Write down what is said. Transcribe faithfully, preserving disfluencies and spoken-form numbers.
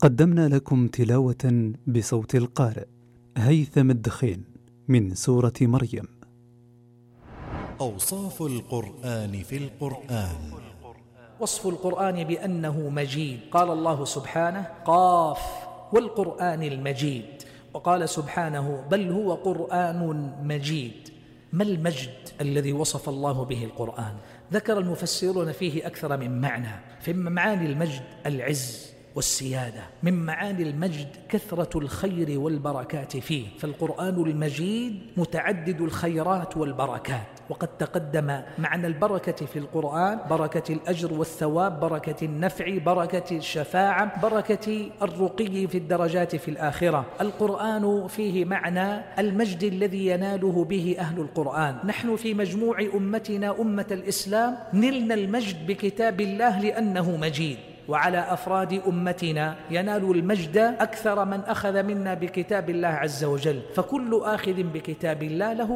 قدمنا لكم تلاوة بصوت القارئ هيثم الدخين من سورة مريم. أوصاف القرآن في القرآن. وصف القرآن بأنه مجيد. قال الله سبحانه: قاف والقرآن المجيد. وقال سبحانه: بل هو قرآن مجيد. ما المجد الذي وصف الله به القرآن؟ ذكر المفسرون فيه أكثر من معنى. فمن معاني المجد العز والسيادة، من معاني المجد كثرة الخير والبركات فيه، فالقرآن المجيد متعدد الخيرات والبركات. وقد تقدم معنى البركة في القرآن: بركة الأجر والثواب، بركة النفع، بركة الشفاعة، بركة الرقي في الدرجات في الآخرة. القرآن فيه معنى المجد الذي يناله به أهل القرآن. نحن في مجموع أمتنا أمة الإسلام نلنا المجد بكتاب الله لأنه مجيد، وعلى أفراد أمتنا ينال المجد أكثر من أخذ منا بكتاب الله عز وجل. فكل آخذ بكتاب الله له